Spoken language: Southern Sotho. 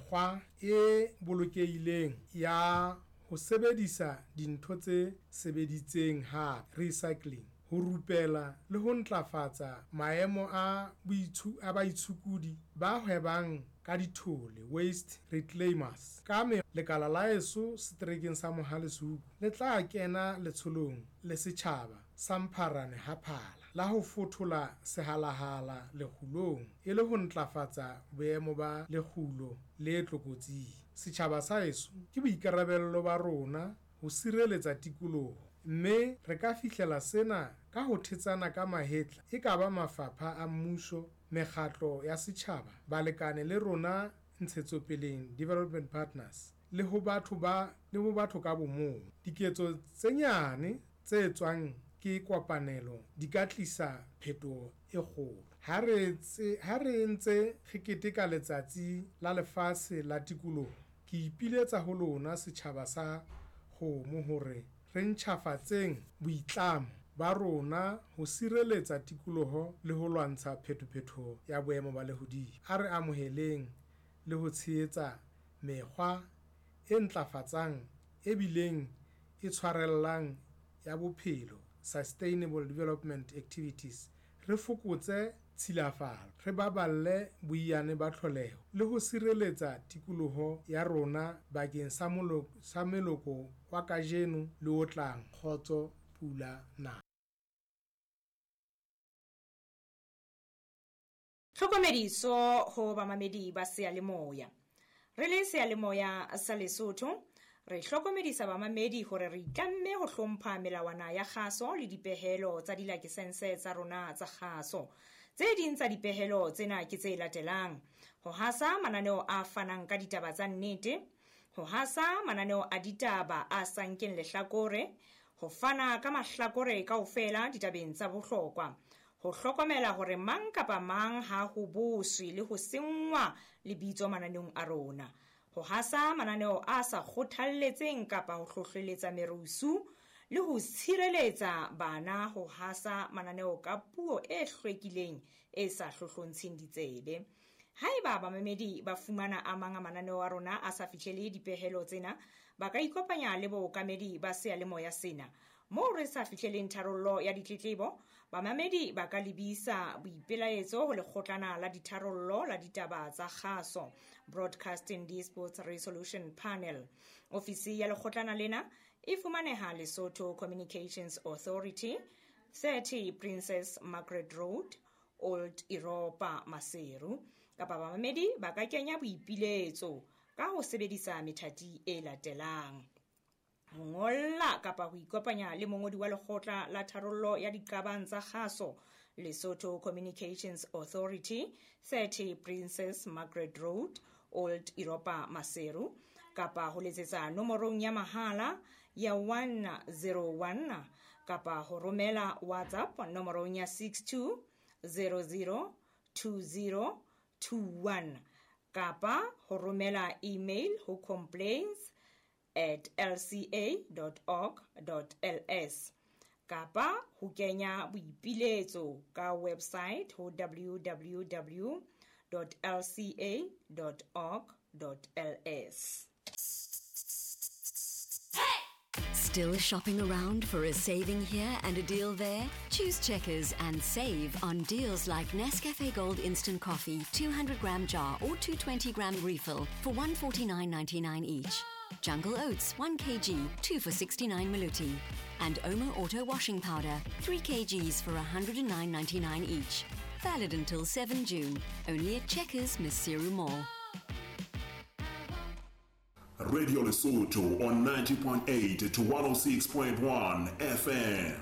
mekgwa e bolokehileng ya ho sebedisa dintho tse sebeditseng hape, recycling, ho rupela le ho ntlafatsa maemo a a baitshokodi ba hwebang ka dithole, waste reclaimers. Ka me Lekala la heso seterekeng sa Mohale's Hoek le tla kena letsholong le setjhaba sa Mpharane ha Phala la ho fothola sehalahala lekgulong e le ho ntlafatsa boemo ba lekgulo le tlokotsing. Setjhaba sa heso, ke boikarabello ba rona ho sireletsa tikoloho, mme re ka fihlela sena ka ho thetsana ka mahetla e ka ba mafapha a mmuso, mekgatlo ya setjhaba, balekane le rona ntshetsopeleng, development partners, le ho batho ba le ho batho ka bomong. Diketso tse nyane tse etswang ke kopanelo di ka tlisa phetoho e kgolo. Ha re ha re ntse re keteka Letsatsi la Lefatshe la Tikoloho, ke ipiletsa ho lona setjhaba sa Kgomo hore re ntjhafatseng boitlamo ba rona ho sireletsa tikoloho le ho lwantsha phetophetoho ya boemo ba lehodimo. A re amoheleng le ho tshehetsa mekgwa e ntlafatsang e bileng e tshwarellang ya bophelo, sustainable development activities, re fokotse tshilafalo, re baballe boiyane ba tlholeho le ho sireletsa tikoloho ya rona bakeng sa sa meloko wa kajeno le o tlang. Kgotso, pula na. Tlhokomediso ho bamamedi ba seyalemoya. Re le seyalemoya sa Lesotho, re hlokomedisa bamamedi hore re itlamme ho hlompha melawana ya kgaso le dipehelo tsa dilakesense tsa rona tsa kgaso. Tse ding tsa dipehelo tsena ke tse latelang: ho hasa mananeo a fanang ka ditaba tsa nnete, ho hasa mananeo a ditaba a sa nkeng lehlakore, ho fana ka mahlakore kaofela ditabeng tsa bohlokwa, ho hlokomela hore mang kapa mang ha ho boswe le ho senngwa lebitso mananeong a rona, ho hasa mananeo a sa kgothalletseng kapa ho hlohleletsa merusu le ho tshireletsa bana ho hasa mananeo ka puo e hlwekileng e sa hlohlontsheng ditsebe. Haeba bamamedi ba fumana a mang a mananeo a rona a sa fihlele dipehelo tsena, ba ka ikopanya le bookamedi ba seyalemoya sena. Moo re sa fihleleng tharollo ya ditletlebo, bamamedi ba ka lebisa boipelaetso ho lekgotlana la ditharollo la ditaba tsa kgaso, Broadcasting Disputes Resolution Panel. Ofisi ya lekgotlana lena e fumaneha Lesotho Communications Authority, 30 Princess Margaret Road, Old Europa, Maseru. Kapa bamamedi ba ka kenya boipiletso ka ho sebedisa methati e latelang: ho ngolla kapa ho ikopanya le mongodi wa lekgotla la tharollo ya diqabang tsa kgaso, Lesotho Communications Authority, 30 Princess Margaret Road, Old Europa, Maseru, kapa ho letsetsa nomorong ya mahala ya 101 kapa ho romela WhatsApp nomorong ya 62 00 20 21 kapa ho romela email ho complaints at lca.org.ls kapa ho kenya boipiletso ka website ho www.lca.org.ls. Still shopping around for a saving here and a deal there? Choose Checkers and save on deals like Nescafe Gold Instant Coffee, 200 gram jar or 220 gram refill for 149.99 each. Jungle Oats 1 kg, 2 for 69 maluti. And Omo Auto Washing Powder, 3 kgs for 109.99 each. Valid until 7 June. Only at Checkers, Maseru Mall. Radio Lesotho on 90.8 to 106.1 FM.